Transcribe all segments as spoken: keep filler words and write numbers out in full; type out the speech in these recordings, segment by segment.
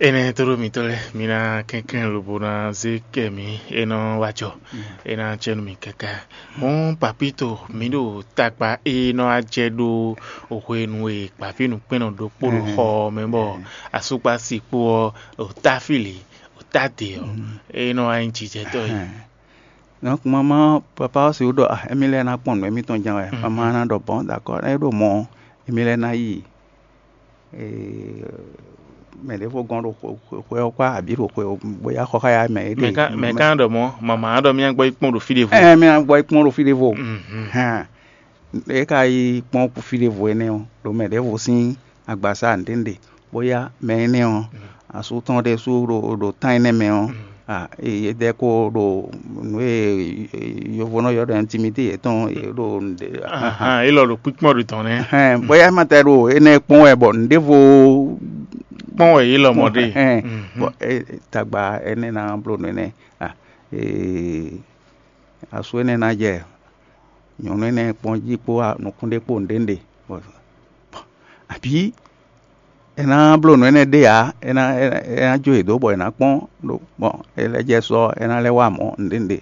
Énɛ́ tlóló mitɔ́ lɛ́ɛ, mi ná kɛnklɛ́n lobo ná zé kɛ mǐ, é nɔ wá jɔ, é ná jɛ nú mì káká. Hɔn papíto, mǐ ɖo tagba e nɔ wá jɛ ɖó hwenu e gbǎvínǔkpɛ́nnɔ ɖokpó ɖo xɔ ɔ́ mɛ, bɔ asúkpási kpó ɔ́, o táfíli, o tádě ɔ́, é nɔ wá nyí jijɛtɔ́ é. Donc maman, papa ɔ́ sixú ɖɔ ah, émí lɛ́ɛ ná kpɔn nǔ émítɔn jɛ́n wɛ. Maman ná ɖɔ bɔn, d'accord, é ɖo mɔ̌ ɔ́, émí lɛ́ɛ ná yi mɛ ɖěvo gɔ́n ɖo xwe ɔ́ kpá abǐ ɖo xwe ɔ́ bó yá xɔ xá ya mɛ é ɖe. Mɛ ka ɖɔ mɔ̌, mama ɖɔ mí gbɔ yi kpɔn ɖo fí ɖěvo. Ɛ mí ná gbɔ yi kpɔn ɖo fí ɖěvo. Hɛn, é ka yi kpɔ́n fí ɖěvo énɛ́ ɔ́, ɖo mɛ ɖěvo sín agbaza nǔɖénúɖé, bó yá mɛ énɛ́ ɔ́, asú tɔn ɖésú ɖo ɖo tán énɛ́ mɛ ɔ́, a, é dɛ́ kó ɖo nǔ e yovó nɔ ylɔ́ ɖɔ intimité yětɔn é ɖo nǔɖé. Ahan, élɔ́ ɖo kpíkpɔ́n ɖo tɔn nɛ́. Hɛn, bó yá ma tɛ ɖo énɛ́ kpɔ́n wɛ bɔ nǔɖévo kpɔ́n wɛ yě lɔmɔ̌ ɖe. Hɛn, bɔ tagba énɛ́ ná bló nǔ énɛ́. A, ee, asú énɛ́ ná jɛ nyɔ̌nu énɛ́ kpɔ́n jí kpó nukún ɖé kpó nǔɖénúɖé. Abǐ è nǎ bló nǔ énɛ́ ɖé ǎ, é ná é ná jó yě dó bɔ è nǎ kpɔ́n ɖo gbɔn è lɛ́ jɛ sɔ é ná lɛ́ wá mɔ̌ nǔɖénúɖé.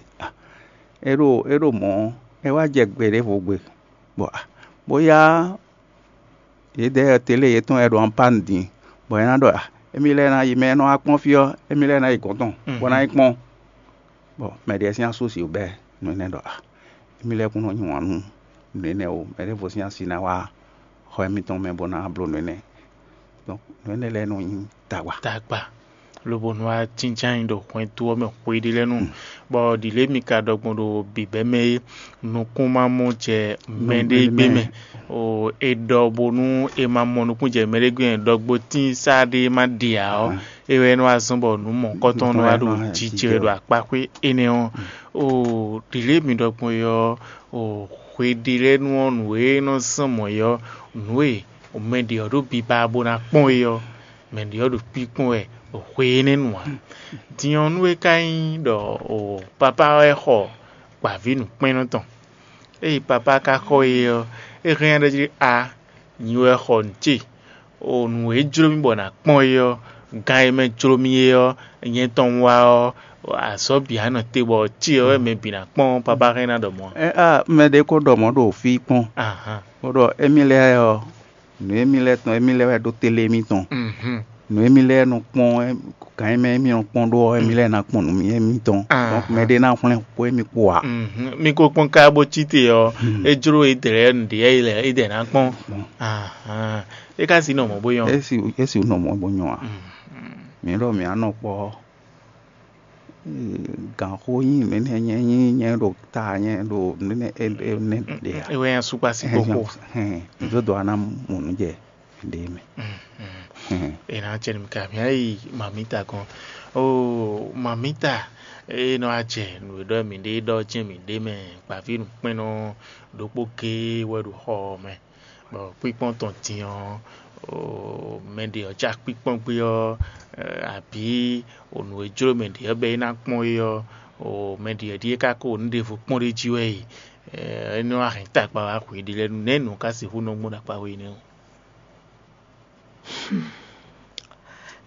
É ɖo é ɖo mɔ̌, é wá jɛ gbe ɖěvo gbe, bɔ bó yá yědɛɛ télé yětɔn wɛ ɖo anpánu din, bɔ é ná ɖɔ émí lɛ́ɛ ná yi mɛ e nɔ wá kpɔ́n fí ɔ́, émí lɛ́ɛ ná yi gɔ̌n tɔn bó ná yi kpɔ́n. Bɔ mɛ ɖě sín asú sixú bɛ́ nǔ énɛ́ ɖɔ a, émí lɛ́ɛ kún nɔ nyi wǎn nú nǔ énɛ́ ó, mɛ ɖěvo sín asi ná wá xɔ émítɔn mɛ bó ná bló nǔ énɛ́. Nǔ énɛ́ lɛ́ɛ nɔ nyí tagba. Tagba, lobo nɔ wá jínjɔ́n ayǐ ɖo hwɛndo ɔ́ mɛ hweɖé lɛ́ɛ nu, bɔ ɖǐlé mi ka ɖɔ gbɔn ɖo bǐbɛ́ mɛ é, nukún ma mɔ jɛ mɛɖé gbé mɛ. È ɖɔ bónú è ma mɔ nukún jɛ mɛɖé gbé mɛ, ɖɔ gbotín sá ɖé ma ɖe ǎ ɔ́, é wɛ nɔ wá zɔ́n bɔ nǔ mɔ̌hunkɔtɔn nɔ wá ɖo jijɛ wɛ ɖo akpaxwé énɛ́ ɔ́. Ɖǐlé mi ɖɔ gbɔn é ɔ́, hweɖé lɛ́ɛ nu ɔ́, nǔ e nɔ zɔ́n mɔ̌ é ɔ́, nǔ e mɛ ɖě ɔ́ ɖo biba bó ná kpɔ́n é ɔ́, mɛ ɖě ɔ́ ɖo kpíkpɔ́n wɛ hwe énɛ́ nu ǎ. Din ɔ́, nú é ka nyí ɖɔ papá wɛ xɔ gbǎvínǔkpɛ́nnɔ tɔn, ée papá ka xɔ é ɔ́, é hɛn ɖɔ jí a nyi wɛ xɔ nǔ ce. O nǔ e jló mì bɔ nǎ kpɔ́n é ɔ́, gan e mɛ jló mì é ɔ́, nyɛ tɔn wá ɔ́, azɔ̌ bǐ á nɔ te bɔ ce ɔ́ wɛ mɛ bǐ ná kpɔ́n papá hɛn ná ɖɔ mɔ̌. Ɛ a mɛ ɖé ko ɖɔ mɔ̌ ɖo fí kpɔ́n, ahan, bó ɖɔ émí lɛ́ɛ ɔ́, nǔ émí lɛ́ɛ tɔn émí lɛ́ɛ wɛ ɖó télé émítɔn. Mhm. Nǔ émí lɛ́ɛ nɔ kpɔ́n, gan e mɛ émí nɔ kpɔ́n ɖó ɔ́, émí lɛ́ɛ ná kpɔ́n nǔ émítɔn. Ahan. Donc mɛ ɖé ná hwlɛ́n xó émí kpó ǎ. Mhm. Mi ko kpɔ́n ka bó cí te ɔ́, é jló é dlɛ̌ nǔɖé é lɛ́ é dɛ ná kpɔ́n. Ahan. É ka si nɔ mɔ̌ bó nyɔ́. É si é si nɔ mɔ̌ bó nyɔ́ ǎ. Mǐ ɖɔ mǐ á nɔ kpɔ́ ɔ́, ganxó nyí nǔ énɛ́ nyɛ nyí nyɛ ɖo ta nyɛ ɖo nǔ énɛ́ é é nɛ́ ɖe ǎ. É wɛ nyí asúkpasi kókó. Hɛn, dó dó ana mɔ nǔ jɛ ɖě mɛ. È nǎ jɛ nǔ ka mǐ yi mamíta gɔ́n. Oo, mamíta, é nɔ wá jɛ nǔ e ɖɔ mǐ ɖe ɖɔ jɛ́n mǐ ɖe mɛ, gbǎví nǔkpɛ́nnɔ ɖokpó géé wɛ ɖo xɔ ɔ́ mɛ. Bɔ kpíkpɔ́n tɔn din ɔ́, mɛ ɖě ɔ́ já kpíkpɔ́n gbé ɔ́, abǐ nǔ e jló mɛ ɖě ɔ́ bɔ é ná kpɔ́n é ɔ́, mɛ ɖě ɔ́ ɖíe ká ko nǔ ɖěvo kpɔ́n ɖ'é jí wɛ e, é nɔ wá hɛn tagba wá hweɖé lɛ́ɛ nu. Nɛ̌ nǔ ká sixú nɔ gbɔn ɖo akpa we nɛ́ ɔ́?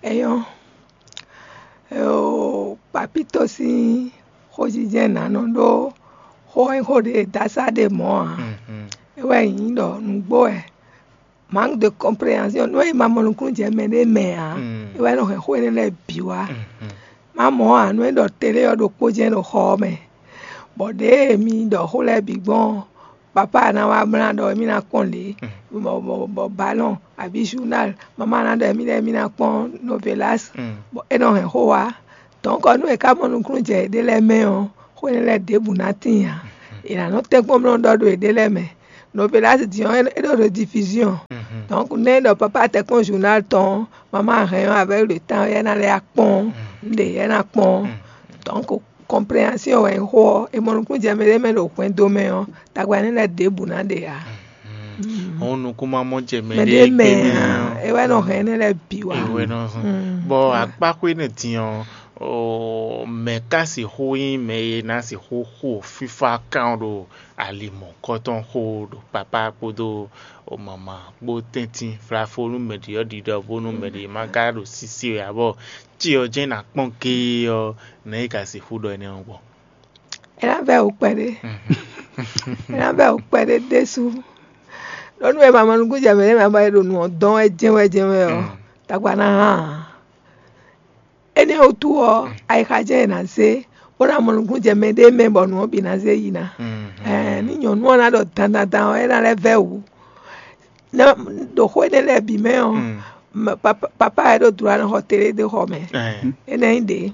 Eyɔ́, papítɔ sín xójijɛ ná nɔ ɖó xó e xó ɖé dasá ɖe mɔ̌ ǎ. É wɛ nyí ɖɔ nǔgbó wɛ, manque de compréhension, nú è ma mɔ nukúnnú jɛ mɛ ɖé mɛ ǎ, é wɛ nɔ hɛn xó énɛ́ lɛ́ɛ bǐ wá. Má mɔ ǎ, nú é ɖɔ télé ɔ́ ɖokpó jɛ́n ɖo xɔ ɔ́ mɛ, bɔ ɖěe mi ɖɔ xó lɛ́ɛ bǐ gbɔn ɔ́, papá ná wá mlá ɖɔ émí ná kpɔ́n lě, bɔ bɔ bɔ balɔn abǐ journal, mamá ná ɖɔ émí lɛ́ɛ émí ná kpɔ́n novelas, bɔ é nɔ hɛn xó wá. Donc nú è ká mɔ nukúnnú jɛ yěɖée lɛ́ɛ mɛ ɔ́, xó énɛ́ lɛ́ɛ ɖěbǔ ná tíin ǎ. È nǎ nɔ tɛ́nkpɔ́n bló ɖɔ ɖo yěɖée lɛ́ɛ mɛ. Novelas din ɔ́, é ɖo rediffusion. Donc nú é ɖɔ papá tɛ́nkpɔ́n journal tɔn ɔ́, mamá hɛn ɔ́ avec le temps é ná lɛ́ kpɔ́n, un ɖe é ná kpɔ́n. Donc compréhension wɛ nyí xó ɔ́, è mɔ nukúnnú jɛ mɛ ɖé mɛ ɖo hwɛndo mɛ ɔ́, tagba énɛ́ lɛ́ɛ ɖěbǔ ná ɖe ǎ. Hɔn nukún ma mɔ jɛ mɛ Mɛ ɖé ɖé mɛ gbé mɛ ǎ, ɔ́. É wɛ nɔ hɛn énɛ́ lɛ́ɛ bǐ wá. Ìwé nɔ zɔn. Bɔ akpáxwé nɛ din ɔ́, Oo, mɛ̌ ka sixú nyí mɛ e ná sixú xo fífá kan ɖo ali mɔ̌kɔ́tɔn xó ɖo papá kpódó mama kpó tɛ́ntin flafó nú mɛɖě ɔ́ ɖiɖɔ bónú mɛɖě ma ka ɖo sísí wɛ ǎ bɔ cyɔ jɛ́n ná kpɔ́n géé ɔ́, nɛ̌ é ka sixú ɖɔ énɛ́ ɔ́ gbɔn? É ná vɛ́ wǔ kpɛɖé. É ná vɛ́ wǔ kpɛɖé ɖésú. Ɖɔ nú e ma mɔ nukúnjɛ mɛ ɖé mɛ bɔ è ɖo nǔ ɔ́ dɔn wɛ jɛ́nwɛ jɛ́nwɛ ɔ́, tagba ná hán ǎ. Énɛ́ wútu ɔ́, ayixa jɛ́n è nǎ zé bó ná mɔ nukúnjɛ mɛ ɖé mɛ bɔ nǔ ɔ́ bǐ ná zé yi ná. Ɛɛ, ní nyɔ̌nu ɔ́ ná ɖɔ dandandan ɔ́, é ná lɛ́ vɛ́ wǔ. Ná ɖo xó énɛ́ lɛ́ɛ bǐ mɛ ɔ́, ma- papa papa wɛ ɖo dlǒ ná xɔ télé dó xɔ mɛ. Énɛ́ nyí ɖě.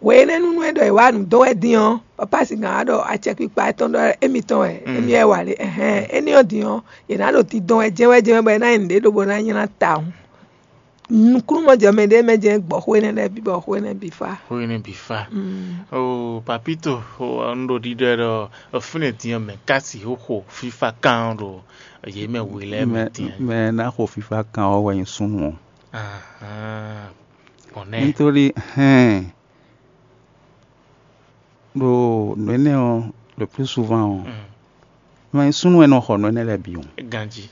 Hwe énɛ́ nú nú é ɖɔ è wǎ nǔ dó wɛ dín ɔ́, papa singǎn wá ɖɔ acɛkpikpa étɔn ɖɔ émítɔn wɛ, émí wɛ wa lě. Ɛhɛn, énɛ́ ɔ́ din ɔ́, è nǎ ɖo dindɔn wɛ jɛ́nwɛ́ jɛ́nwɛ́ bɔ é ná nyí nǔɖé ɖó bó ná nylá tawun. Nukúnnú jɛ mɛ ɖé mɛ jɛ́n gbɔ xó énɛ́ lɛ́ɛ bǐ bɔ xó énɛ́ bǐ fá. Xó énɛ́ bǐ fá. Oo, papito, un ɖo ɖiɖɔ ɖɔ fínɛ́ din ɔ́ mɛ ka sixú xo fífá kan ɖo yě mɛ we lɛ́ɛ mɛ din. Mɛ ná xo fífá kan ɔ́ wɛ nyí súnnu ɔ́. Ahán. Gbɔn nɛ́. Nítorí hɛn ɖo nǔ énɛ́ ɔ́, le plus souvent ɔ́, mɛ súnnu wɛ nɔ xɔ nǔ énɛ́ lɛ́ɛ bǐ o. Ganjí.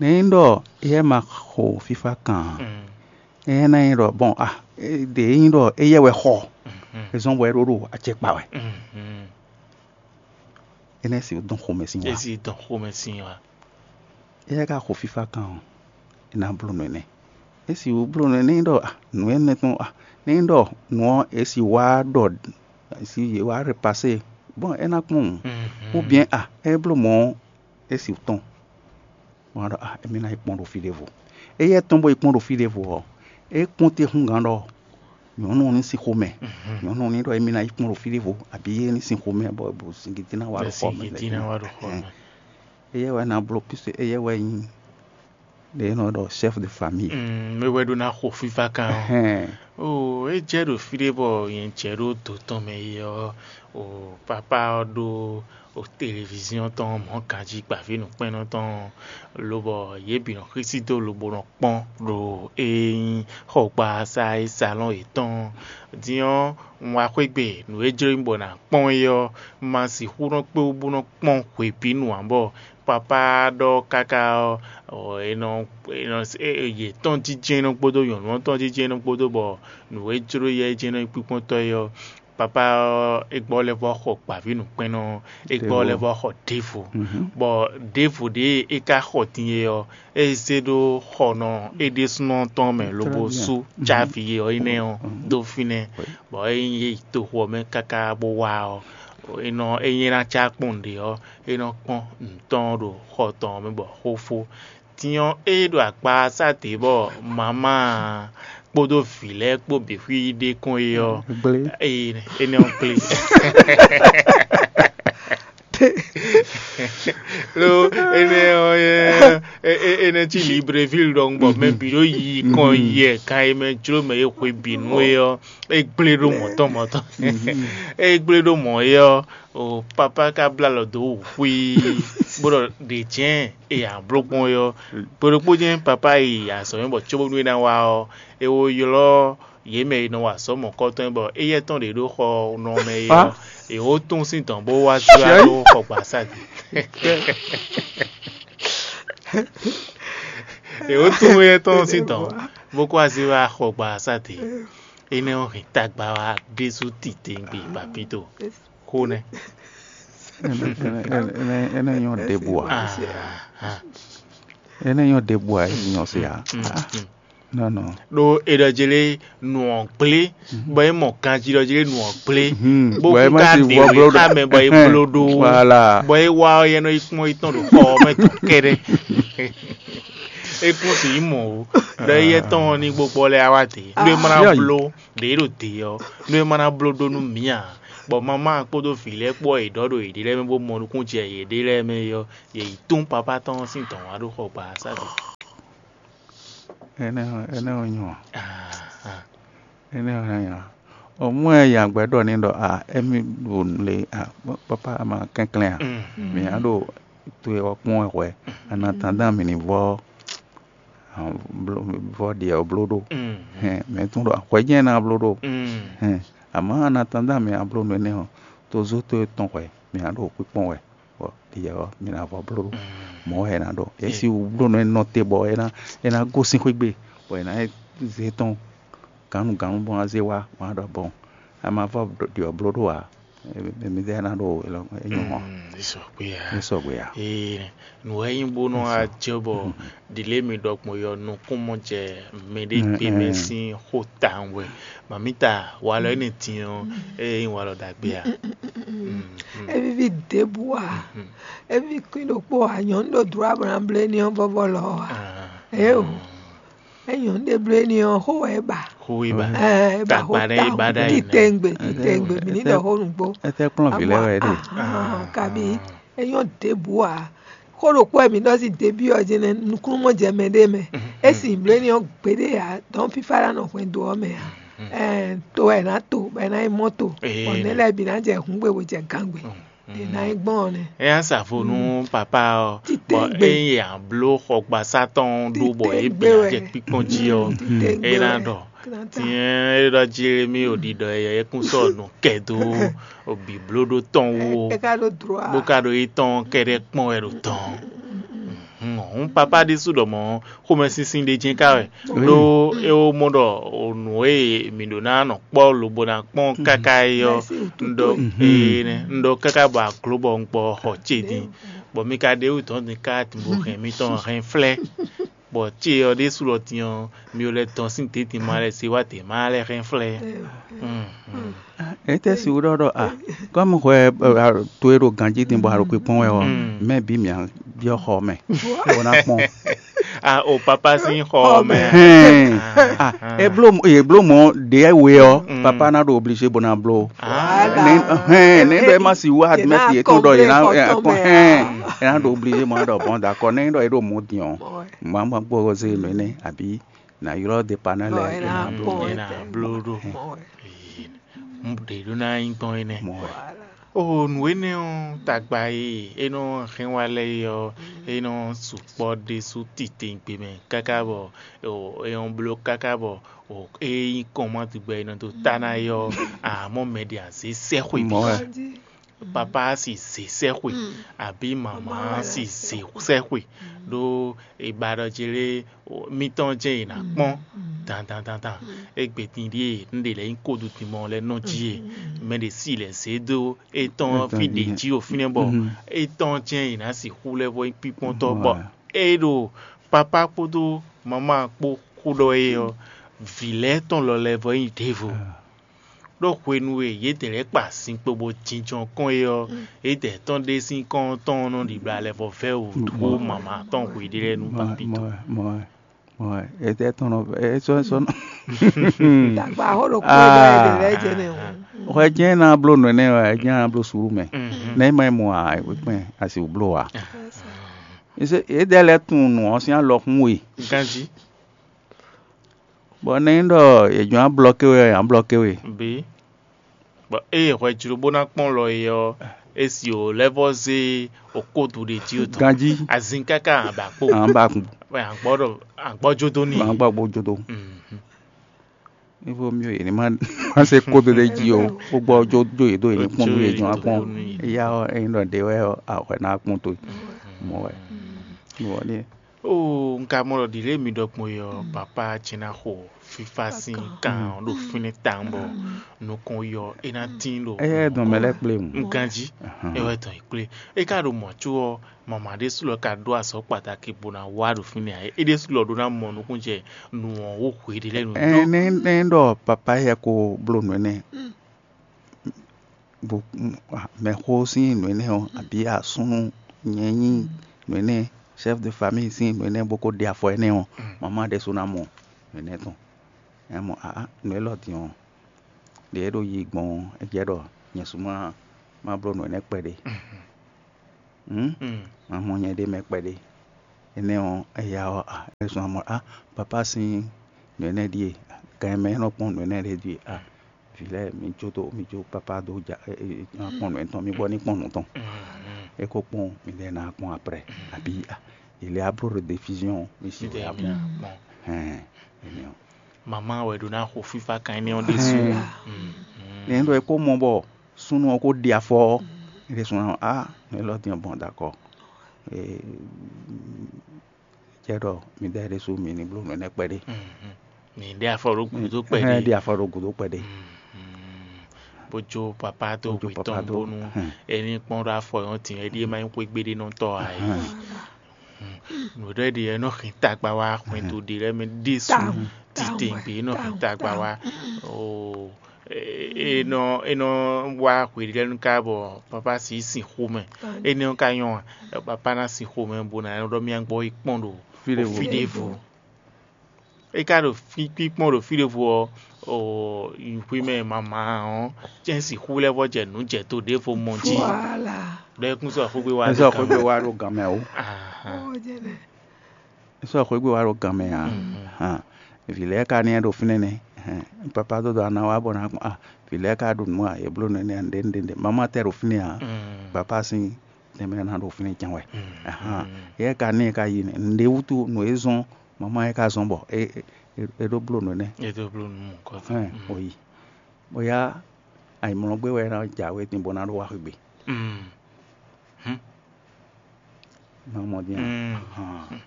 Nɛ̌ nyí ɖɔ éyɛ́ ma xo fífá kan ǎ? Éyɛ́ ná nyí ɖɔ bɔn a ɖě nyí ɖɔ éyɛ́ wɛ xɔ, é zɔ́n bɔ é ɖó ɖo acɛ kpa wɛ. Énɛ́ sixú dɔn xomɛ sín wá. Ezi dɔn xomɛ sín wá. Éyɛ́ ka xo fífá kan ɔ́, é ná bló nǔ énɛ́. É sixú bló nǔ énɛ́ ɖɔ nǔ énɛ́ tɔn nɛ́ ɖɔ nǔ ɔ́ é si wá ɖɔ si yě wá répasé bɔn é ná kpɔ́n wǔ. Ou bien a é bló mɔ̌ é si tɔn bɔn ɖɔ a émí ná yi kpɔ́n ɖo fí ɖěvo. Éyɛ́ tɔn bó yi kpɔ́n ɖo fí ɖěvo ɔ́, é kpɔ́n té húngán ɖɔ nyɔ̌nu ɔ́ ní sín xomɛ. Nyɔ̌nu ɔ́ ní ɖɔ émí ná yi kpɔ́n ɖo fí ɖěvo abǐ é ní sín xomɛ bɔ bɔ singidí ná wá ɖo xɔ mɛ. Éyɛ́ wɛ ná bló puisque éyɛ́ wɛ nyí ɖě nɔ ɖɔ chef de famille. Mm, mɛ wɛ ɖó ná xo fífá kan ɔ́. Oo, é jɛ ɖo fí ɖé bɔ nyɛ jɛ ɖó dǒ tɔn mɛ é ɔ́, o papa ɔ́ ɖó o téléviziɔn tɔn mɔ̌ ganjí gbǎví nǔkpɛ́nnɔ tɔn, lobɔ yě bǐ nɔ xísí dó lobo nɔ kpɔ́n ɖo e nyí xɔgbasá e salɔn yětɔn. Din ɔ́, un wá xwé gbe nǔ e jló nyí bɔ nǎ kpɔ́n é ɔ́, ma sixú nɔ kpé wú bó nɔ kpɔ́n hwebǐnu ǎ bɔ papá ɖɔ káká ɔ́, ɔ, è nɔ, è nɔ, è, è, yě tɔn jínjɛ́n nɔ kpódó nyɔ̌nu ɔ́ tɔn jínjɛ́n nɔ kpódó bɔ nǔ e jló yɛ é jɛ́n nɔ nyí kpíkpɔ́ntɔ́ é ɔ́, papá ɔ́, é gbɔ lɛ́ vɔ xɔ gbǎvínǔkpɛ́nnɔ ɔ́, é gbɔ lɛ́ vɔ xɔ ɖěvo, bɔ ɖěvo ɖě é ka xɔ din é ɔ́, é zé ɖó xɔnɔ é ɖésúnɔ tɔn mɛ lobo sú cávi é ɔ́ énɛ́ ɔ́ dó fínɛ́, bɔ é nyí yě yi toxo ɔ́ mɛ káká bó wá ɔ́, é nɔ é nyí ná cá kpɔ́n nǔɖé ɔ́, é nɔ kpɔ́n nǔ tɔn ɖo xɔ tɔn ɔ́ mɛ bɔ xó fó. Din ɔ́, ée ɖo akpa ɔ́ sá dě bɔ mamá kpódó vǐ lɛ́ɛ kpó bǐ xwí ɖe kɔn é ɔ́, énɛ́ ɔ́ gblé. Lo énɛ́ ɔ́, énɛ́ cí Libreville ɖɔhun bɔ mɛ bǐ ɖo yi kɔn yɛ kan e mɛ jló mɛ e xwe bǐ nú é ɔ́, é gblé ɖó mɔ̌ tɔn mɔ̌ tɔn. É gblé ɖó mɔ̌ é ɔ́, o papá ka bló alɔ dó wǔ xwíí, bó ɖɔ ɖě jɛ́n e a bló gbɔn é ɔ́. Gbe ɖokpó jɛ́n papá yi azɔ̌ mɛ bɔ cóbónú é ná wá ɔ́, é wó ylɔ́ yě mɛ e nɔ wa azɔ̌ mɔ̌kɔ́tɔn é bɔ éyɛ́ tɔn ɖě ɖó xɔ nɔ mɛ é ɔ́, è wǒ tún sín dɔ̌n bó wá jlá dó xɔgbasá din. È wǒ tún éyɛ́ tɔn sín dɔ̌n bó kó wá zé wá xɔgbasá din. Énɛ́ ɔ́ hɛn tagba wá ɖésú titewungbe papito xó nɛ́. Énɛ́ nyɔ́ ɖěbǔ ǎ. Énɛ́ nyɔ́ ɖěbǔ ǎ, é nyɔ́ se ǎ. Nɔnɔ. Ɖó è ɖɔ jɛ lé nǔ ɔ́ gblé, bɔ é mɔ ganjí ɖɔ jɛ lé nǔ ɔ́ gblé, bó kún ka ɖe wě xá mɛ bɔ é bló ɖó, bɔ é wá ɔ́, yɛ nɔ yi kpɔ́n yi tɔn ɖo xɔ ɔ́ mɛ tɔn kɛ́ɖɛ́. É kún sixú mɔ o, ɖɔ éyɛ́ tɔn ɔ́ ní gbogbo lɛ́ wá dě, ɖó é má ná bló ɖě ɖo dě ɔ́, nú é má ná bló ɖó nú mǐ ǎ, bɔ mamá kpódó vǐ lɛ́ɛ kpó ɔ́, yě ɖɔ ɖo yěɖée lɛ́ɛ mɛ bó mɔ nukúnnú jɛ yěɖée lɛ́ɛ mɛ é ɔ́, yě yi tún papá tɔn sín dɔ̌n wá ɖó xɔ gba ɔ́ sá dó. Énɛ́ ɔ́, énɛ́ ɔ́ nyɔ ǎ. Énɛ́ ɔ́ nyɔ ǎ. O mɔ ɛ ya gbɛ ɖɔ ní ɖɔ a émi ɖo le a papa ma kɛnklɛn a. Mǐ á ɖo to e ɔ́ kpɔ́n wɛ hwɛ. Ana tandán mǐ ní vɔ vɔ ɖiɛ ɔ́ bló ɖó. Hɛn, mɛ tún ɖɔ hwɛ jɛ́n ná bló ɖó. Hɛn, àmọ́ a ná tán dá mɛ a bló nú énɛ́ ɔ́, tó zó tó tɔn hwɛ, mɛ a ɖo kpíkpɔ́n wɛ, bɔ ɖiyɛ ɔ́, mi ná vɔ bló ɖó. Mɔ̌ wɛ è nǎ ɖɔ. É si wú bló nú énɛ́ ɔ́ te bɔ é ná é ná gosín xwé gbe, bɔ è nǎ zé tɔn gǎnnugǎnnu bɔ ná zé wá, bɔ ná ɖɔ bɔn a ma vɔ ɖi ɔ́ bló ɖó ǎ. Mɛ mi ɖe ná ɖo é nyɔ́ hɔn. Ní sɔgbe ǎ. Ní sɔgbe ǎ. Ee, nǔ wɛ nyí bó nɔ ajɔ bɔ ɖile mi ɖɔ gbɔn yɔ nukúnmɔ jɛ mɛɖé gbe mɛ sín xó tawun wɛ. Mamita, walɔ énɛ́ din ɔ́, é nyí walɔ ɖagbe ǎ. É víví ɖěbǔ ǎ. É víví kwín ɖokpó ǎ. Nyɔ̌nu ɖo dlɔ̌ abɔ ná bló éní ɔ́ vɔ́vɔ́ lɔ ɔ́ ǎ. Éeǒ. É nyɔ̌nu ɖé bló éní ɔ́, xó wɛ é ba. Xó wɛ é ba. Ɛ, é ba xó Tagba ɖé é ba ɖ'ayǐ mɛ. Titewungbe, titewungbe, mǐ ní ɖɔ xó nǔgbó. Etɛ́ kplɔ́n vǐ lɛ́ɛ wɛ é ɖe? Kabi é nyɔ́ ɖěbǔ ǎ. Xó ɖokpó wɛ mǐ ɖɔ sín debí ɔ́ jɛ́n nɛ́, nukúnnú mɔ jɛ mɛ ɖé mɛ. É sin bló éní ɔ́ gbeɖé ǎ, dɔ̌n fífá ná nɔ hwɛndo ɔ́ mɛ ǎ. Ɛ, to wɛ è nǎ to, bɔ è nǎ yi mɔ́ to, bɔ nɛ̌ lɛ́ɛ bǐ ná jɛ hǔngbe bó jɛ gangbe. È nǎ yi gbɔn ɔ́ nɛ́. É nya sa vo nú papá ɔ́, bɔ ényí a bló xɔgbasá tɔn ɖó bɔ é bǐ jɛ kpíkpɔ́n jí ɔ́, é ná ɖɔ. Tiɛn é ɖɔ Jeremi ò ɖiɖɔ yɛ é kún sɔ́ nǔ kɛ dó bǐblóɖó tɔn wú ó, bó ka ɖo yi tɔn kɛɖɛ́ kpɔ́n wɛ ɖo tɔn. Hǔn papá ɖésú ɖɔ mɔ̌ xomɛsinsin ɖé jɛ́n ká wɛ, ɖó é wó mɔ ɖɔ nǔ e mǐ ɖó ná nɔ kpɔ́ lobo ná kpɔ́n káká é ɔ́, un ɖɔ énɛ́, un ɖɔ káká bɔ a glǒ bɔ un gbɔ xɔ ce din, bɔ mi ka ɖe wú dɔ̌n din ká din bó hɛn mitɔn hɛn flɛ́, bɔ ce ɔ́ ɖésú lɔ din ɔ́, mi lɛ́ dɔn sín dědin ma lɛ́ se wá dě ma lɛ́ hɛn flɛ́. Etɛ́ si wú ɖɔ ɖɔ a kɔ́mu hwɛ to e ɖo ganjí din bɔ a ɖo kpikpɔ́n wɛ ɔ́, mɛ bǐ mǐ byɔ́ xɔ mɛ bó ná kpɔ́n. A o papa sín xɔ mɛ. Hɛn. Ah, e bló e bló mɔ ɖě we ɔ́, papa ná ɖo obligé bó ná bló. Hɛn, ne ɖɔ e ma si wá admɛti yětɔn ɖɔ yě ná kpɔ́n hɛn, yě ná ɖo obligé mɔ ɖɔ bɔn d'accord, ne ɖɔ e ɖo mɔ din ɔ́, ma ma gbɔ zé nɔ énɛ́ àbí na ylɔ́ dépanneur lɛ́ɛ. Ena bló ɖó. Ɖe ɖó ná nyí gbɔn énɛ́. O nǔ énɛ́ ɔ́, tagba e é nɔ hɛn wá lɛ́ɛ é ɔ́, é nɔ sukpɔ́ ɖésú titewungbe mɛ káká bɔ é nɔ bló káká bɔ é nyí kɔnmátɔ́gbɛ́ e nɔ dó tá ná é ɔ́, amɔ̌ mɛ ɖě azě sɛ́xwe bǐ. Papá si zě sɛ́xwe, abǐ mamá si zě sɛ́xwe, ɖó è ba ɖɔ jlé mitɔn jɛ́n è nǎ kpɔ́n dandan dandan. Égbé din ɖíe un ɖe lɛ̌ nyí kódudimɔ lɛ́ɛ nɔ jí e, mɛ ɖě si lɛ̌ zé dó étɔn ɔ́ fí ɖě jí ɖo fínɛ́ bɔ étɔn jɛ́n è nǎ sixú lɛ́ vɔ nyí kpíkpɔ́ntɔ́ bɔ é ɖo papá kpódó mamá kpó xó ɖɔ é ɔ́, vǐ lɛ́ɛ tɔn lɔ lɛ́ vɔ nyí ɖěvo. Ɖó hwenu e yědɛɛ lɛ́ɛ kpa zinkpo bó jínjɔ́n kɔn é ɔ́, yědɛɛ tɔn ɖé sín kɔn tɔn nɔ ɖibla lɛ́ vɔ vɛ́ wǔ dó mama tɔn hweɖé lɛ́ɛ nú papi tɔn. Mɔ ɛ, mɔ ɛ, etɛ́ tɔn nɔ, é sɔ́ é sɔ́ nɔ. Dagba xó ɖokpó ɖɔ yědɛɛ lɛ́ɛ jɛ nɛ o. Hwɛ jɛ́n ná bló nǔ énɛ́ wɛ, é jɛ́n ná bló suɖú mɛ. Nɛ̌ ma yi mɔ ǎ, é kpɛn asi wǔ bló ǎ. Yědɛɛ lɛ́ɛ tunwun nǔ ɔ́ sín alɔ hún we. Ganjí. Bɔ nɛ́ nyí ɖɔ è jɔ̌n ablɔ́ ké we ɔ́, è nǎ blɔ́ ké we. Bǐ. Bɔ ée hwɛ jló bó ná kpɔ́n lɔ é ɔ́, é si wǒ lɛ́ vɔ́ zé okódu ɖé jí o tɔn. Ganjí. Azin káká abǎ kpo. Abǎ kpo. Wɛ àgbɔ́ ɖɔ àgbɔ́ jó dó n'i. Àgbɔ́ gbó jó dó. Níbo mí yě ní má má se kódo ɖé jí o, kó gbɔ jó jó yě dó yě ní kpɔ́n nú yě jɔ́n akpɔ́n. Éyá ɔ́, ényí ɖɔ ɖě wɛ ɔ́, àhwɛ ná kpɔ́n towe. Mɔ̌ wɛ. Mɔ̌ wɛ ní. Oo, un ka mɔ ɖɔ ɖǐ lě mi ɖɔ gbɔn é ɔ́, papá ce ná xo fífá sín kan ɔ́ ɖo fínɛ́ tawun bɔ nukɔn yɔ é ná tín ɖo. Ɛ yɛ dɔn mɛ lɛ́ kplé mu. Un ganjí. É wɛ dɔn yi kplé. É ka ɖo mɔ̌ có ɔ́, mama ɖésú lɔ ka ɖó azɔ̌ kpatáki bó ná wá ɖo fínɛ́ ǎ. É ɖésú lɔ ɖó ná mɔ nukúnnú jɛ nǔ ɔ́ wú hweɖé lɛ́ɛ nú. Ɛ nɛ́ nɛ́ ɖɔ papá yɛ ko bló nǔ énɛ́. Bo mɛxó sín nǔ énɛ́ ɔ́, abǐ asúnú nyɛ nyí nǔ énɛ́, chef de famille sín nǔ énɛ́ bó ko ɖe afɔ énɛ́ ɔ́, mamá ɖésú ná mɔ nǔ énɛ́ tɔn. É mɔ aá nǔ élɔ́ din ɔ́, ɖě é ɖo yi gbɔn ɔ́, é jɛ ɖɔ nyɛ sú má má bló nǔ énɛ́ kpɛɖé. Má mɔ nyɛ ɖ'é mɛ kpɛɖé. Énɛ́ ɔ́, éyá ɔ́, a é zɔ́n amɔ á papá sín nǔ énɛ́ ɖíe, gan e mɛ é nɔ kpɔ́n nǔ énɛ́ ɖé ɖíe a vǐ lɛ́ɛ mi jó dó mi jó papá dó ja ná kpɔ́n nǔ étɔn mi gbɔ ní kpɔ́n nǔ tɔn. É ko kpɔ́n mi lɛ́ɛ ná kpɔ́n aprɛ abǐ a yě lɛ́ á bló ɖo défiziɔn mi si wɛ á kpɔ́n. Hɛn énɛ́ ɔ́. Mama wɛ ɖó ná xo fífá kan énɛ́ ɔ́ ɖésú. Nɛ̌ ɖɔ é kó mɔ bɔ súnnu ɔ́ kó ɖi afɔ ɔ́, é ɖésú ná á nǔ élɔ́ din ɔ́ gbɔn ɖo akɔ. Cɛ ɖɔ mi ɖɔ é ɖésú mi ní bló nǔ énɛ́ kpɛɖé. Mi ɖe afɔ ɖo gǔdo kpɛɖé. Ɖe afɔ ɖo gǔdo kpɛɖé. Bó jó papá tó Bó jó hwi papá tɔn tó. Bónú é ní kpɔ́n ɖó afɔ yɔn tǐn é ɖíe má nyí xwé gbéɖénɔtɔ́ ǎ é. Nǔ ɖé ɖi é nɔ hɛn tagba wá xwɛndo ɖi lɛ́ɛ mɛ ɖésú titewungbe é nɔ hɛn tagba wá. Oo, é nɔ é nɔ wá hweɖélɛ́nu ká bɔ papá sí sin xomɛ. Énɛ́ ɔ́ ka nyɔ́ a? Papá ná sin xomɛ bó ná nɔ ɖɔ mía gbɔ yi kpɔ́n ɖo Fí ɖěvo. Fí ɖěvo. É ka ɖo fí kpíkpɔ́n ɖo fí ɖěvo ɔ́, o, xwimɛ mama ɔ́, cɛ́n sixú lɛ́ vɔ jɛ nǔ jɛ to ɖěvo mɔ jí. Voilà. Ɖɔ é kún sɔ́ xwégbé wá Ẹ sɔ ɖo xwégbe gan mɛ. Wá ɖo gan mɛ o. Ahan. Ó jẹ́ bẹ́ẹ̀. Ẹ sɔ xwégbe wá ɖo gan mɛ a. Hàn. Vǐ lɛ́ɛ ka ní ɛ ɖo fínɛ́ nɛ́. Hɛn, papa dó dó ana wá bɔ ná kpɔn a. Vǐ lɛ́ɛ ka ɖo nǔ a, yě bló nɛ́ nɛ́ a, ɖě ɖě ɖě. Mama tɛ ɖo fínɛ́ a. Papa sín tɛnmɛ ná ɖo fínɛ́ can wɛ. Ahan. Yɛ ka ní ɛ ka yi nɛ́. Nǔɖé wútu nǔ e zɔ́n mama yɛ ka zɔ́n bɔ é é é ɖó bló nǔ énɛ́. É dó bló nú mɔ̌kɔtɔn. Hɛn, o yi. Bóyá ayǐmlɔ́gbé wɛ é ná jǎwe din bó ná ɖó wá xwé gbe. Mm. Má mɔ dín a. Mm. Hàn.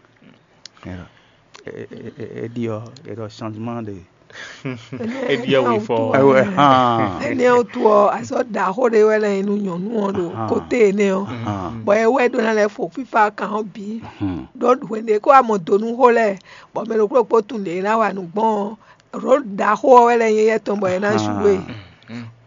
É ɖɔ é- é- é- é ɖi ɔ́, é ɖɔ changement de. É ɖi ɔ́ wěfɔ. Ɛwɛ hàn. Énɛ́ ɔ́ wútu ɔ́, azɔ̌ ɖaxó ɖé wɛ lɛ́ nyí nú nyɔ̌nu ɔ́ ɖo Ahan. Kóté énɛ́ ɔ́. Hàn. Bɔ é wɛ ɖó ná lɛ́ fo fífá kan ɔ́ bǐ. Hmm. Ɖó hwenu e é kó wá mɔ do nú xó lɛ́ɛ, bɔ mɛ ɖokpó ɖokpó tunwun ɖě é ná wa nǔ gbɔn ɔ́, ɖó ɖaxó ɔ́ wɛ lɛ́ nyí éyɛ́ tɔn bɔ é ná Ahan. Joué.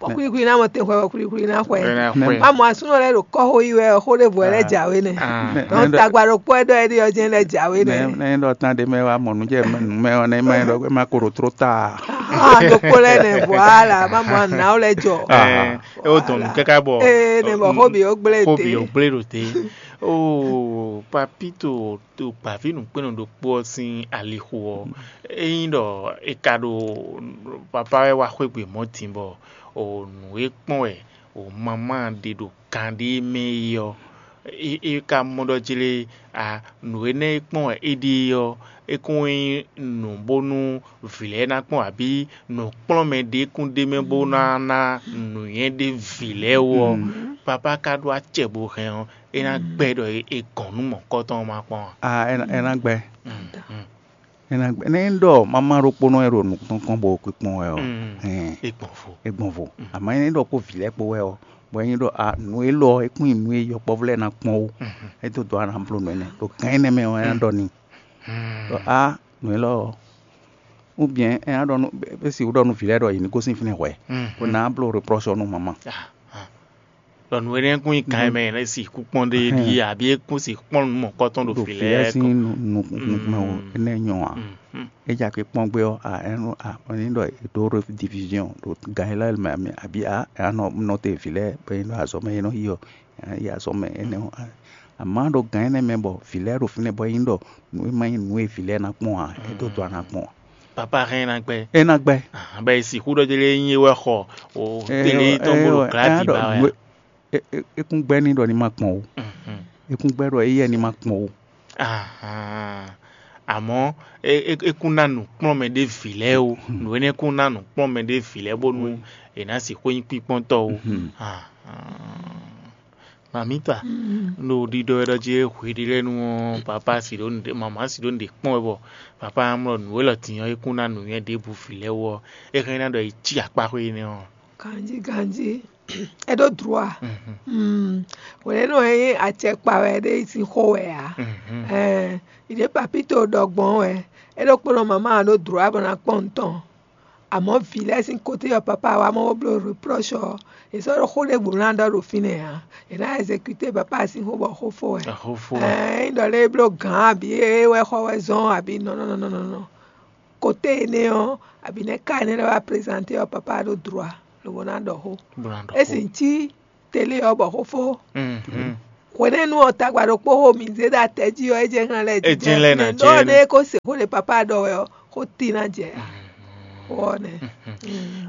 Bɔ xwlíxwlí ná mɔ tɛnxɔ wɛ xwlíxwlí ná xwɛ. É ná xwɛ. Má mɔ asúnɔ lɛ́ɛ ɖo kɔ́xo yi wɛ ɔ́, xó ɖěvo wɛ lɛ́ jǎwe nɛ́. Ah. Dɔn tagba ɖokpó wɛ ɖɔ é ɖi ɔ́ jɛ́n lɛ́ jǎwe nɛ́. Nɛ́ nɛ́ ɖɔ tán ɖé mɛ wá mɔ nǔ jɛ nǔ mɛ ɔ́ nɛ́ má nyí ɖɔ é má ko ɖo tró ta. Ah, ɖokpó lɛ́ɛ nɛ, voilà, má mɔ anǎ lɛ́ jɔ. Ɛ, é wó dɔn nǔ káká bɔ Ee, nɛ bɔ xó bǐ ó gblé xó bǐ ó té. Gblé ɖo té. Oo, papito to gbǎví nǔkpɛ́nnɔ ɖokpó ɔ́ sín alixo ɔ́, ényí ɖɔ è ka ɖo papá wɛ wá xwé gbe mɔ̌ din bɔ o nǔ e kpɔ́n wɛ o mamá ɖe ɖo kan ɖé mɛ é ɔ́, é é ka mɔ ɖɔ jlé a nǔ énɛ́ e kpɔ́n wɛ é ɖe é ɔ́, é kún nyí nǔ bónú vǐ lɛ́ɛ ná kpɔ́n abǐ nǔkplɔ́nmɛ ɖé kún ɖ'é mɛ bó ná ná nǔnywɛ́ ɖé vǐ lɛ́ɛ wú ɔ́, papá ka ɖó acɛ bó hɛn ɔ́, é ná gbɛ́ ɖɔ è gɔn nú mɔ̌kɔtɔn ɔ́ ma kpɔ́n ǎ. A ɛ ná- ɛ ná gbɛ. Mm, mm, Ɛ ná gbɛ. Nɛ́ é ɖɔ mamá ɖokpónɔ e ɖo nukúntɔn kpɔ́n bó kpé kpɔ́n wɛ ɔ́, mm. Hɛn, É gbɔn vo. É gbɔn vo. Àmọ́ é ɖɔ kpó vǐ lɛ́ɛ kpó wɛ ɔ́, bɔ é nyí ɖɔ a nǔ élɔ́ ɔ́, é kún nyi nǔ e yɔkpɔ́vú lɛ́ɛ ná kpɔ́n ó. É dó dɔ̌ ná bló nǔ énɛ́ ɖo gǎn énɛ́ mɛ ɔ́, é ná ɖɔ n'i ɖɔ á nǔ élɔ́ ɔ́, oubyen é ná ɖɔ nú é sixú ɖɔ nú vǐ lɛ́ɛ ɖɔ yě ní gosín fínɛ́ hwɛ̌, bó ná bló reproche ɔ́ nú mamá. Ɖɔ nǔ énɛ́ kún nyí kan e mɛ è nɔ sixú kpɔ́n ɖe é ɖíe, abǐ é kún sixú kpɔ́n nú mɔ̌kɔtɔn ɖo Ɖo vǐ vǐ lɛ́ɛ lɛ́ɛ sín sín nu- nu- nukúnmɛ o, énɛ́ nyɔ́ ǎ. É ja kpé kpɔ́n gbé ɔ́, a é nɔ a ɔ́ ní ɖɔ è dǒ ɖo division ɖo gǎn élɔ́ mɛ abǐ a é ná nɔ nɔ te vǐ lɛ́ɛ bɔ é nɔ azɔ̌ mɛ é nɔ yi ɔ́, é ná yi azɔ̌ mɛ énɛ́ ɔ́. Amǎ ɖo gǎn énɛ́ mɛ bɔ vǐ lɛ́ɛ ɖo fínɛ́ bɔ é nyí ɖɔ nǔ e ma nyí nǔ e vǐ lɛ́ɛ ná kpɔ́n ǎ, é dó dɔ́ ná kpɔ́n ǎ. Papa hɛn ná gbɛ. É ná gbɛ. Bɛ sixú ɖɔ délé nyí é wɛ xɔ o É télé wɔ- tɔn é bó ɖo wɔ- é glá ná ɖi ɖɔ ba wɛ. nǔ e- é- é- é kún gbɛ́ ní ɖɔ ní ma kpɔn o. É kún gbɛ́ ɖɔ éyɛ́ ní ma kpɔn o. Ahan. Àmọ́ é- é- é kún ná nǔkplɔ́nmɛ ɖé vǐ lɛ́ɛ o. Nǔ énɛ́ kún ná nǔkplɔ́nmɛ ɖé vǐ lɛ́ɛ bónú è nǎ sixú nyí kpíkpɔ́ntɔ́ o. Ahan. Mamita, ɖo ɖiɖɔ wɛ ɖɔ jí hweɖélɛ́nu ɔ́, papa si ɖó nǔɖé, mama si ɖó nǔɖé kpɔ́n wɛ bɔ papa ná mlɔ nǔ élɔ́ din ɔ́, é kún ná nǔnywɛ́ ɖěbǔ vǐ lɛ́ɛ wú ɔ́, é hɛn ná ɖɔ é cí akpá xwé énɛ́ ɔ́. Ganjí ganjí, é ɖó dlǒ a? Hwenɛ́nu ɔ́ nyí acɛkpa wɛ ɖé sín xó wɛ ǎ. Ɛɛ, ìɖě papito ɖɔ gbɔn wɛ, é ɖokpónɔ mama ɔ́ ɖó dlǒ a bɔ ná kpɔ́n nǔ tɔn. Àmọ́ vǐ lɛ́ɛ sín kotí ɔ́, papa wá mɔ bó bló reproche ɔ́, è sɔ́ ɖó xó ɖěbǔ ná ɖɔ ɖo fínɛ́ ǎ. È nǎ exécuté papa sín xó bɔ xó fó wɛ. Xó fó wɛ. Ɛɛ, é nyí ɖɔ lé é bló gǎn abǐ é wɛ xɔ wɛ zɔ́n abǐ nɔ nɔ nɔ nɔ nɔ. Koté énɛ́ ɔ́, abǐ nɛ́ ká énɛ́ lɛ́ɛ wá présenté ɔ́, papa ɖó droit lobo ná ɖɔ xó. Bó ná ɖɔ É xó. Sì cí télé ɔ́ bɔ xó fó. Mhm. Hwenɛ́nu ɔ́, tagba ɖokpó xo mǐ zé ɖo atɛ jí ɔ́, é jɛ́n hɛn lɛ́ É jɛ́n lɛ́ ná jɛ ɖɔ énɛ́. Nɛ́ é kó se xó ɖé papa ɖɔ wɛ ɔ́, xó tí ná jɛ. Xó ɔ́ nɛ́.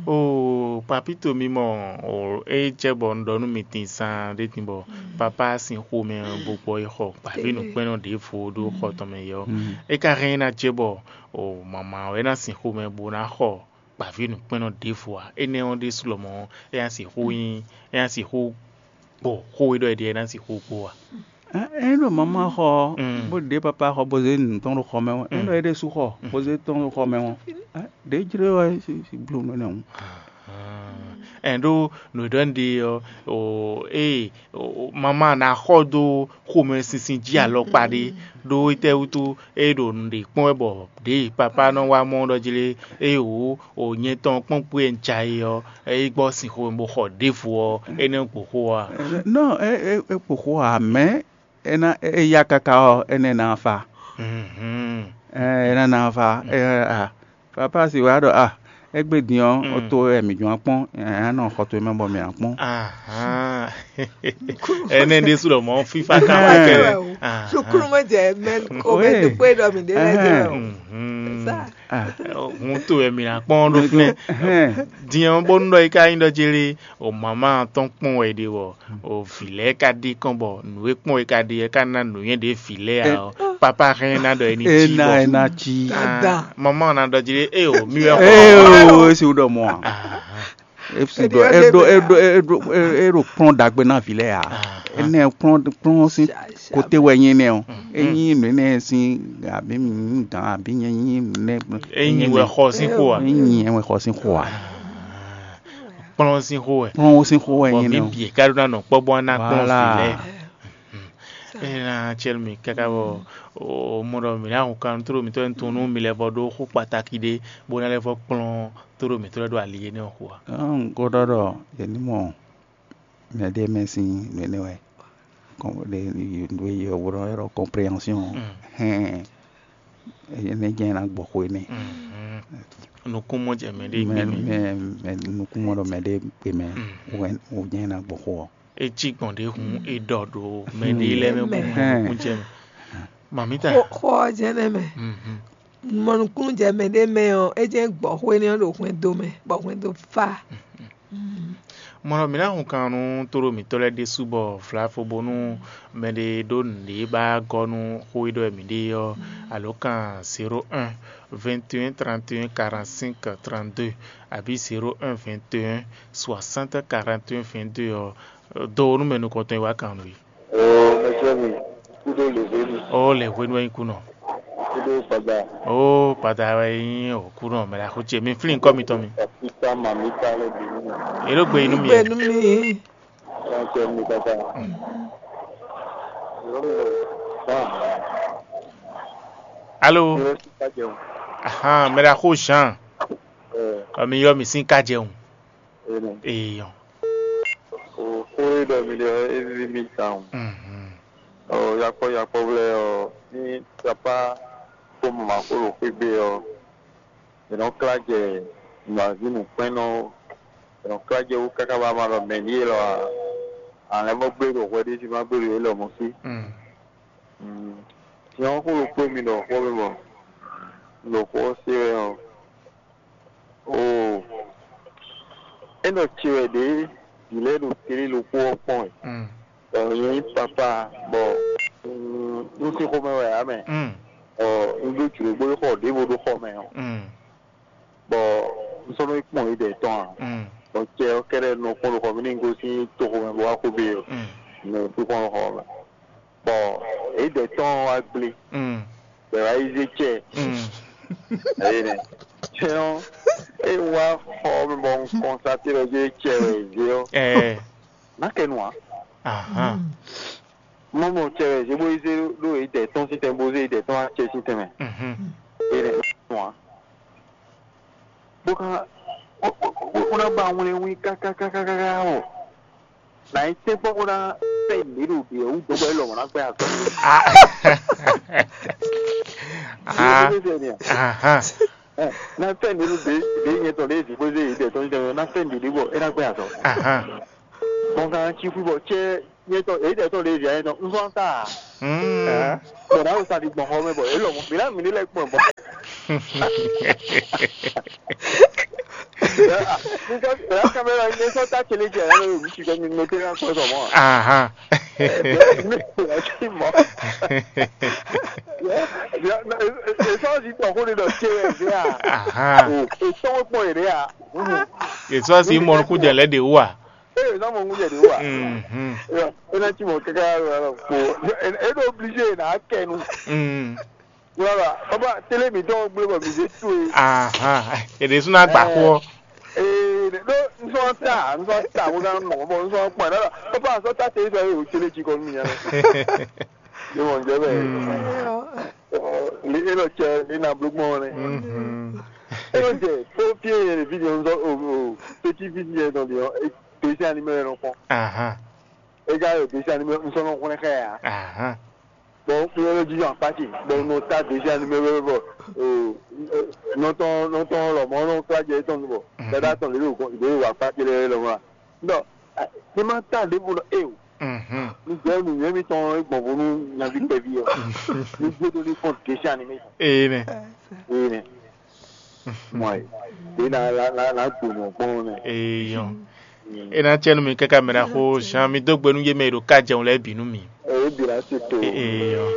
Oo, papito mi mɔ, o é jɛ bɔ un ɖɔ nú mi din sán ɖé din bɔ papá sín xomɛ bó gbɔ yi xɔ gbǎví nǔkpɛ́nnɔ ɖěvo ɖó xɔ tɔn mɛ yɛ ɔ́, é ka hɛn ná jɛ bɔ o mama wɛ ná sín xomɛ bó ná xɔ gbǎví nǔkpɛ́nnɔ ɖěvo ǎ. Énɛ́ ɔ́ ɖésú lɔmɔ̌ é ná sixú nyí, é ná sixú kpo xó e ɖɔ é ɖe é ná sixú kpo ǎ. Ɛ é ɖo mama xɔ ɔ́, bó ɖě papa xɔ bó zé nǔ tɔn ɖo xɔ mɛ ɔ́, é ɖɔ é ɖésú xɔ bó zé tɔn ɖo xɔ mɛ ɔ́, ɖě jlé wɛ si bló nú énɛ́ hǔn. Ɛn ɖó nǔ e ɖɔ un ɖe ɔ́, o ée mama ná xɔ dó xomɛsinsin jí alɔkpa ɖé, ɖó étɛ́ wútu é ɖo nǔɖé kpɔ́n wɛ bɔ ɖěe papá nɔ wá mɔ ɖɔ jlé é wǒ o nyɛ tɔn kpɔ́n kpé e un ja é ɔ́, é gbɔ sin xomɛ bó xɔ ɖěvo ɔ́, é nɛ́ gbo xó ɔ́ a? Nɔ é é é kpo xó ǎ, mɛ̌ é ná é yá káká ɔ́, énɛ́ ná fa. Ɛ é ná ná fa. Ɛ a papa si wá ɖɔ a égbé din ɔ́, ó tó wɛ mǐ jɔ́n kpɔ́n, ɛ á nɔ xɔ towe mɛ bɔ mǐ ná kpɔ́n. Ahán. Ɛnɛ ɖésú lɔ mɔ fífá ká wá kɛ. Sukrúmɔ jɛ mɛ o mɛ dukpó ɖɔ mǐ ɖe lɛ jɛ o. Sa. Hun to wɛ mǐ ná kpɔ́n ɖó fínɛ́. Din ɔ́ bónú ɖɔ é ká nyí ɖɔ jélé o mama tɔn kpɔ́n wɛ ɖe wɔ o vǐ lɛ́ɛ ka ɖi kɔn bɔ nǔ e kpɔ́n é ka ɖi é ka ná nǔnywɛ́ ɖě vǐ lɛ́ɛ ǎ ɔ́, papa hɛn ná ɖɔ é ní cí ena bɔ ena ci. Dada. Mama ná ɖɔ jí ée o mì wɛ xɔ. Eye o esi ɖɔ mɔ a. Esi ɖɔ eɖo eɖo eɖo eɖo kplɔn ɖagbe na vi lɛ a. Ene kplɔn kplɔn si kote wɛ nyi nɛ o. Enyi nene si abi mi gan abi nyi nyi ne. Enyi wɛ xɔ sí xo a. Enyi wɛ xɔ sí xo a. Kplɔn sín xó wɛ. Kplɔn sín xó wɛ nyi nɛ o. Bɔ mǐ bǐ ká ɖó ná nɔ kpɔ́ bó ná kplɔn vǐ lɛ́ɛ. Ée ná cɛ́ nú mì káká bɔ o mɔ ɖɔ mǐ ná hun kan tló mǐtɔn nyi tunwun nú mi lɛ́ vɔ ɖó xó kpatáki ɖé bó ná lɛ́ vɔ kplɔ́n tló mǐtɔn lɛ́ɛ ɖo ali énɛ́ ɔ́ xo ǎ. Un ko ɖɔ ɖɔ yě ní mɔ mɛ ɖé mɛ sín nǔ énɛ́ wɛ. Kɔn ɖe nǔ e yɔ̌wǔ ɖɔ ylɔ́ compréhension hɛn énɛ́ jɛ́n ná gbɔ xó énɛ́. Nukúnmɔ jɛ mɛ ɖé mɛ gbé mɛ. Mɛ mɛ nukúnmɔ ɖɔ mɛ ɖé gbé mɛ wɛ wò jɛ́n ná gbɔ xó ɔ́. É cí gbɔn ɖě hun é ɖɔ ɖo mɛ ɖé lɛ́ɛ mɛ bɔ mɛ nukún jɛ mɛ. Mamita. Xó ɔ́ jɛ́n nɛ́ mɛ. Mɔ nukúnnú jɛ mɛ ɖé mɛ ɔ́, é jɛ́n gbɔ xó énɛ́ ɔ́ ɖo hwɛndo mɛ, bɔ hwɛndo fá. Mɔ̌ mǐ ná hun kan nú tóɖó mǐtɔn lɛ́ɛ ɖésú bɔ vlavo bónú mɛɖé ɖó nǔɖé ba gɔ́ nú xó e ɖɔ wɛ mǐ ɖe ɔ́, alǒkan zéro un, vingt et un, trente et un, quarante-cinq, trente-deux, abǐ zéro un, vingt et un, soixante, quarante et un, vingt-deux ɔ́, dó nú mɛ nukɔntɔn e wá kan nú we. Oo, mɛjɛ mi, kúɖó lě hwenu, Ó le hwenu wɛ nyí kúnɔ. Kúɖó gbada. Ó gbada wɛ nyí o kúnɔ mɛ la xó ce mi flin kɔ mitɔn mi. Pita ma mi ta lɛ bi nínú. Elo gbe inú mi. Gbenu mi. Mɛjɛ mi gbada. Alo. Ahan, mɛ la xó Jean. Ɔ mi yɔ mi sín ká jẹun. Eyɔn. Xó e ɖɔ mi ɖe ɔ́, é víví mì tawun. Ɔ yakpɔ́ yakpɔ́ lɛ́ɛ ɔ́, ní papá kpó mama kpó ɖo xwé gbe ɔ́, è nɔ klá jɛ nǔazí nǔkpɛ́nnɔ, è nɔ klá jɛ wú káká bá ma ɖɔ mɛ ní élɔ́ ǎ. Alɛ̌ mɔ gbé ɖo hwɛ ɖé jí má gbé ɖo élɔ́ mɔ sí. Nyɛ ɔ́ xó ɖokpó mi ɖɔ xó mi mɔ, un ɖo xó ɔ́ se wɛ ɔ́, Oo, é nɔ ce wɛ ɖě vǐ lɛ́ɛ ɖo tlí ɖokpó ɔ́ kpɔ́n wɛ. Bɔ nyɛ nyí papá, bɔ un sín xomɛ wɛ ǎ mɛ. Bɔ un ɖó jlǒ bó yi xɔ ɖěvo ɖó xɔ mɛ ɔ́, bɔ un sɔ́ nɔ yi kpɔ́n yědɛɛ tɔn ǎ. Bɔ cɛ ɔ́ kɛ́ɖɛ́ nɔ kpɔ́n ɖo xɔ mɛ nú un gosín toxo mɛ bó wá xo bɛ ɔ́, un nɔ yi kpɔ́n ɖo xɔ mɛ. Bɔ yědɛɛ tɔn ɔ́ wá gblé. Bɔ è wá yi zé cɛ. Eye nɛ. Cɛ ɔ́, é wá xɔ mɛ bɔ un kɔn saté ɖɔ jɛ cɛ wɛ è zé ɔ́. Ɛɛ. Ná kɛ nu ǎ. Ahan. Mɔ mɔ cɛ wɛ zé bó yi zé ɖó yědɛɛ tɔn sín tɛn bó zé yědɛɛ tɔn wá cɛ sín tɛn mɛ. Mhm. Eye nɛ nu ǎ. Bó ká bó ná ba wlɛnwín kákákákáká ɔ́. Nǎ nyí tɛ́nkpɔ́n bó ná fɛ nǔɖé ɖo ɖě ɔ́ wú dó bɔ é lɔmɔ̌ ná gbɛ́ azɔ̌. Ahan. Ná fɛ nǔɖé ɖo ɖě ɖě nyɛ tɔn ɖě vǐ xwé zé yě dɛ tɔn nyɛ ná fɛ nǔɖé bɔ é ná gbɛ́ azɔ̌. Ahan. Gbɔn kan cí xwí bɔ cɛ nyɛ tɔn èyí dɛ tɔn ɖě vǐ nyɛ tɔn un zɔn ta. Bɔ ná sa ɖi gbɔn xɔ mɛ bɔ é lɔmɔ̌ mǐ ná mǐ ní lɛ́ gbɔn bɔ. Nunca, la caméra, ne só tá aquele dia, né? O bicho que me meteu na coisa mó. Aham. Mó. Esse é o jeito que eu vou dar cheio, já. Aham. Esse é o poder, já. Èso àti ìmọ̀ kú jẹ̀ lẹ́dẹ̀ wà. Ele não mó mulher de rua. Mhm. Ele não tinha que cara, pô. Ele é obligé na quer não. Mm. Voilà, papa, télé mi donc bleu ba mi je tué. Aham. Èdè súná gbà kú ọ. Eh, no, não só tá, não só tá, vou dar um, bom, não só tá, não. Papa, só tá tem isso aí, o télé de economia, né? De onde é, velho? Ele não quer, ele não blue money. Mhm. Ele não quer, faut bien, ele vit dans o petit vit dans le, et puis c'est animé, non? Aham. Ega yo dessin animé, un sɔnɔ xɔnɛ xɛ ya. Aham. Bon, fi yɛ lɔ jijɔ akpati. Bon, no ta dessin animé wɛ bɔ, o, nɔtɔn nɔtɔn lɔ mɔ nɔ kla jɛ etɔn bɔ. Dada tɔn le lo kɔn le wa akpati lɛ lɔ wa. Dɔ, ne ma ta de bo e o. Mhm. Ni jɛ nu yɛ mi tɔn gbɔn bo nu nyavi kpɛvi yɔ. Ni jɛ do ni kɔn dessin animé. Ee nɛ. Ee nɛ. Mɔ ye. De na la la la gbɔn gbɔn nɛ. Ee yɔn. E na tsɛ nu mi kaka mɛ na xo zan mi dó gbe nú yé mɛ e ɖo ká jɛun lɛ́ɛ bǐ nú mi. O bi la se to. Ee yɔn.